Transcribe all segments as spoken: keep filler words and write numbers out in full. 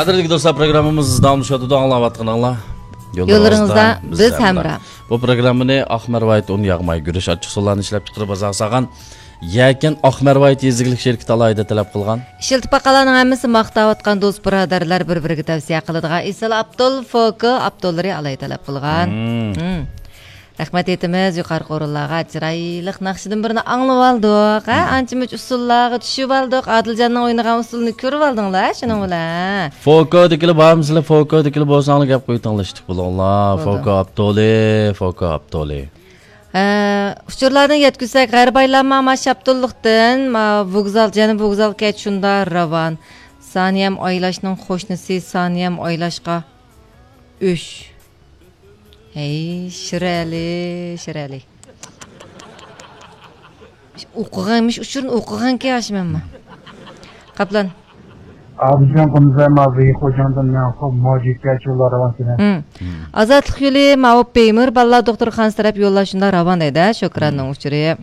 قەدىرلىك دوستلار، پروگراممىمىز داۋاملىشىۋاتىدۇ، ئاڭلاۋاتقىنىڭلار. يوللىرىڭىزدا بىز ھەمراھ. بۇ پروگراممىنى ئاق مەرۋايىت ئۇن ياغماي گۈرۈچ ئاچچىقسۇلارنى ئىشلەپچىقىرىپ بازارغا سالغان يەكەن ئاق مەرۋايىت يېزا ئىگىلىك شىركىتى ئالاھىدە تەلەپ قىلغان. ئىشلىتىپ باققانلارنىڭ ھەممىسى ماختاۋاتقان دوست بۇرادەرلەر بىر-بىرىگە تەۋسىيە قىلىدىغان ئېسىل ئابدۇل فوكو ئابدۇللىرى ئالاھىدە تەلەپ قىلغان. مم. مم. رەھمەت ئېيتىمىز يۇقىرىقى ئورۇنلارغا. چىرايلىق ناخشىدىن بىرنى ئاڭلىۋالدۇق، ھە؟ مم. ئانچە-مۇنچە ئۇسسۇللارغا چۈشۈۋالدۇق. ئادىلجاننىڭ ئوينىغان ئۇسسۇلىنى كۆرۈۋالدىڭلار شۇنىڭ بىلەن، ھە؟ فوكودىكىلەر بارمۇسىلەر؟ فوكودىكىلەر بولساڭلار گەپ قويۇڭلار، ئىشتىك بولۇڭلار. بولدى. فوكو ئابدۇلى، فوكو ئابدۇلى. ھە، ئۇچۇرلاردىن يەتكۈزسەك، غەرىبى ئايلانما ما شاپتۇللۇقتىن، ما ۋوگزال، جەنۇب ۋوگزال كەچ شۇندا راۋان. سانىيەم ئايلاشنىڭ قوشنىسى سانىيەم ئايلاشقا ئۈچ. ھەي، شىرئەلى، شىرئەلى. ئوقۇغانمىش، ئۇچۇرنى ئوقۇغانكەن ھاشىم ئەمما. قاپلان. ئابىجان قۇمزاي مازى خوجاڭدىن مەنسۇپ موجىكە چۇلار راۋان سېنە. مم. مم. ئازادلىق يولى ماۋۇ پېيمۇر بالىلار دوختۇرخانىسى تەرەپ يوللار شۇنداق راۋان دەيدۇ، شۆكراننىڭ مم. ئۇچۇرى.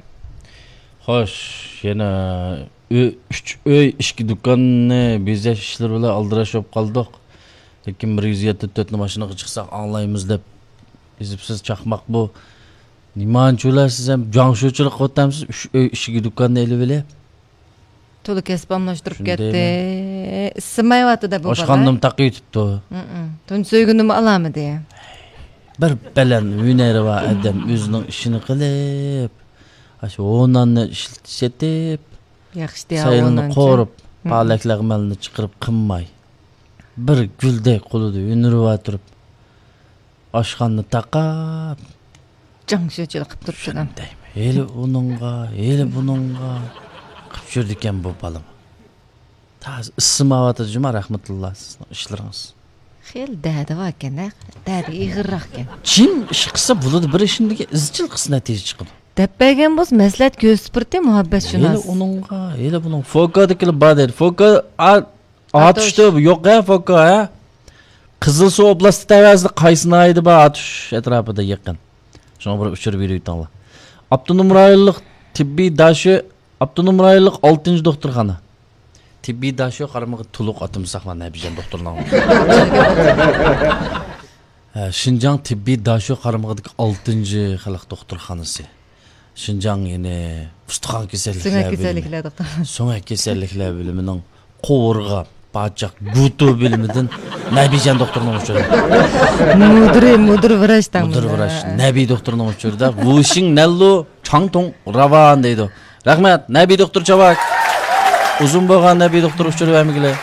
خوش، يەنە ئۆي، ئۈچ ئۆي، ئىككى دۇكاننى بېزەش ئىشلىرى بىلەن ئالدىراش بولۇپ قالدۇق. لېكىن بىر يۈز يەتتە تۆتنى ماشىنىغا چىقساق ئاڭلايمىز دەپ يېزىپسىز. چاقماق بۇ. نېمانچۇلار سىز ھەم جاڭشۇچىلىق قىلىۋاتامسىز؟ ئۈچ ئۆي، ئىككى دۇكاننى ئېلىۋېلىپ. تولا كەسىپ ئالماشتۇرۇپ شۇندايمۇ؟ كەتتى. ئىسسىمايۋاتىدۇ بۇ بالا. ئاشخانىنىمۇ تاقىۋېتىپتۇ. مم. تۇنجى سۆيگۈنىمۇ ئالالمىدى. بىر بەلەن ھۈنەرى بار ئادەم ئۆزىنىڭ ئىشىنى قىلىپ، ئاشۇ ھوناننى ئىشلىتىپ، ياخشى دېيە سايلىنى ھونانچە. قورۇپ، مم. پالەك لەغمەننى چىقىرىپ قىمماي، بىر گۈلدەك قولىدا ھۈنىرى بار تۇرۇپ، ئاشخانىنى تاقاپ، جاڭشۇچىلىق قىپ تۇرۇپتۇ. شۇندايمۇ؟ ھېلى ئۇنىڭغا، ھېلى بۇنىڭغا قىپ يۈرىدىكەن بۇ بالىمۇ. تازا ئىسسىماۋاتىدۇ جۇما، رەھمەتۇللا، سىزنىڭ ئىشلىرىڭىز. خېلى دەردى باركەن ھە، دەردى ئېغىرراقكەن. جىم ئىش قىلسا بولىدۇ، بىر ئىشنىڭدىكى ئىزچىل قىلسا نەتىجە چىقىدۇ. دەپ بەرگەن بولسا مەسلىھەت كۆرسىتىپ بېرىتتى مۇھەببەتشۇناس. ھېلى ئۇنىڭغا، ھېلى بۇنىڭغا. فوكادىكىلەر بار دەيدۇ. فوكا، ئا-، ئاتۇش. ئاتۇشتا يوق ھە، فوكا ھە. قىزىلسۇ ئوبلاستى تەۋەسىدە قايسى ناھىيەدە بار؟ ئاتۇش ئەتراپىدا يېقىن. شۇڭا بىر ئۇچۇر بېرىۋېتىڭلار. ئاپتونوم رايونلۇق تېببىي داشۆ، ئاپتونوم رايونلۇق ئالتىنچى دوختۇرخانا. تېببىي داشۆ قارمىقى تولۇق ئاتىمىز ساقلان نەبىجان دوختۇرنىڭ. ھە، شىنجاڭ تېببىي داشۆ قارمىقىدىكى ئالتىنچى خەلق دوختۇرخانىسى. شىنجاڭ يەنە ئۇستىخان كېسەللىكلەر سۆڭەك بۆلۈمى. كېسەللىكلەر دوختۇرخانىسى. سۆڭەك كېسەللىكلەر بۆلۈمىنىڭ قوۋۇرغا، باچاق، گۇتۇ بۆلۈمىدىن نەبىجان دوختۇرنىڭ ئۇچۇرى. مۇدىرى، مۇدىر ۋراچ دەڭ مۇدىر بۇنى. ۋراچ، نەبى دوختۇرنىڭ ئۇچۇرىدا ۋۇشىڭ نەنلۇ چاڭتۇڭ راۋان دەيدۇ. رەھمەت، نەبى دوختۇر چاۋاك. ئۇزۇن بولغان نەبى دوختۇر ئۇچۇر بەرمىگىلى.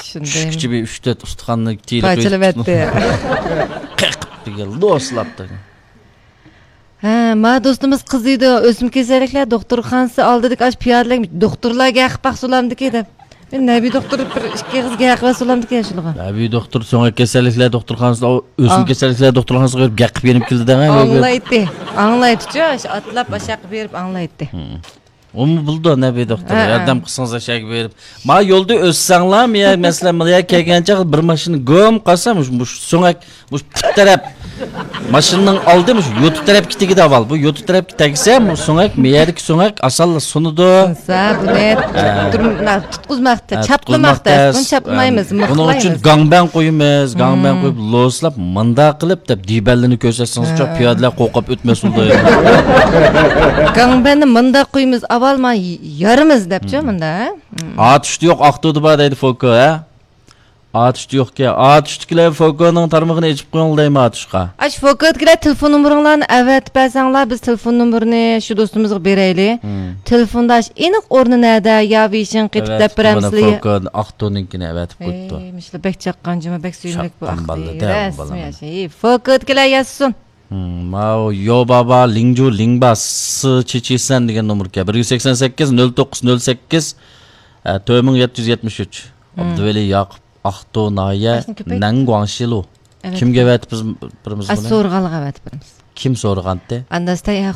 شۇندايمۇ؟ چۈشكىچە بىر ئۈچ تۆت ئۇستىخاننى تىيىلىپ پارچىلىۋەتتى. قېقىپ دېگەن، لوسلاپتۇ. ھە، ما دوستىمىز قىزىيدۇ، ئۆسمە كېسەللىكلەر دوختۇرخانىسى ئالدىدىكى ئاشۇ پىيادىلىك دوختۇرلار گەقىپ باقسۇلامدىكى دەپ. نەبى دوختۇر بىر ئىككى ئېغىز گەقىۋەتسۇلامدىكى شۇلىغا. نەبى دوختۇر سۆڭەك كېسەللىكلەر دوختۇرخانىسىدا، ئۆسمە كېسەللىكلەر دوختۇرخانىسىغا بېرىپ گەقىپ يېنىپ كېلىدۇ دەڭە. ئاڭلايتتى. ئاڭلايتتىچۇ، ئاشۇ ئاتلاپ ئاشاققا بېرىپ ئاڭلايتتى. ھە. ئۇمۇ بىلىدۇ نەبى دوختۇر، ھە، ھە. ياردەم قىلسىڭىز ئەشەگە بېرىپ. ما يولدا ئۆتسەڭلار، مەسىلەن، مانا يەرگە كەلگەن چاغ بىر ماشىنا گۇم قالسا، مۇشۇ، مۇشۇ سۆڭەك، مۇشۇ پۇت تەرەپ، ماشىنىنىڭ ئالدى مۇشۇ يوتا تەرەپكە تېگىدى ئاۋۋال. بۇ يوتا تەرەپكە تەگسە، بۇ سۆڭەك، مەيەردىكى سۆڭەك ئاسانلا سۇنىدۇ. سۇنسا، بۇنى ھە. تۇتقۇزماق، ھە، چاپلىماق تۇتقۇزماق تەس، تەس. بۇنى چاپلىمايمىز، ھە. بۇنىڭ ئۈچۈن مىخلايمىز. گاڭبەن قويىمىز، گاڭبەن مم. قويۇپ، لوسلاپ، مۇنداق قىلىپ دەپ دىبەنلىرىنى كۆرسەتسىڭىزچۇ، ھە. پىيادىلەر قورقۇپ ئۆتمەس بولدى. گاڭبەننى مۇنداق قويىمىز، ئاۋۋال ما يارىمىز دەپچۇ، مم. مۇندا، ھە؟ مم. ئاتۇشتا يوق، ئاقتۇدا بار دەيدۇ فوكو، ھە؟ ئاتۇشتا يوقكەن. ئاتۇشتىكىلەر فوكونىڭ تارمىقىنى ئېچىپ قويۇڭ دەيمەن ئاتۇشقا. ئاشۇ فوكودىكىلەر تېلېفون نومۇرۇڭلارنى ئەۋەتىپ بەرسەڭلار، بىز تېلېفون نومۇرىنى شۇ دوستىمىزغا بېرەيلى. ھىم. تېلېفوندا ئاشۇ ئېنىق ئورنى نەدە، يا ۋېيشىڭ قېتىپ دەپ بېرەمسىلەر؟ فوكو ئاقتۇنىڭكىنى ئەۋەتىپ قويۇپتۇ. ھەي، مۇشۇلار بەك چاققان جۇمۇ، بەك سۆيۈملۈك بۇ چاققان ئاقتى. بالا دە، رەسمىي ئاشۇ. ھەي، فوكودىكىلەر يازسۇن. ھىم، ماۋۇ يو بابا لىڭجۇ لىڭبا سى چىچىسەن دېگەن نومۇركەن. بىر يۈز سەكسەن سەككىز، نۆل توققۇز، نۆل سەككىز، ئە، تۆت مىڭ يەتتە يۈز يەتمىش ئۈچ. ھىم. ئابدۇۋەلى ياقۇپ. ئاقتۇ ناھىيە، ئاشۇنى كۆپەيت. نەنگۇاڭشىلۇ. ئەۋەت. كىمگە ئەۋەتىپ بىرىمىز بۇنى؟ سورىغانلىققا ئەۋەتىپ بىرىمىز. كىم سورىغانتى؟ ئانداس تەييار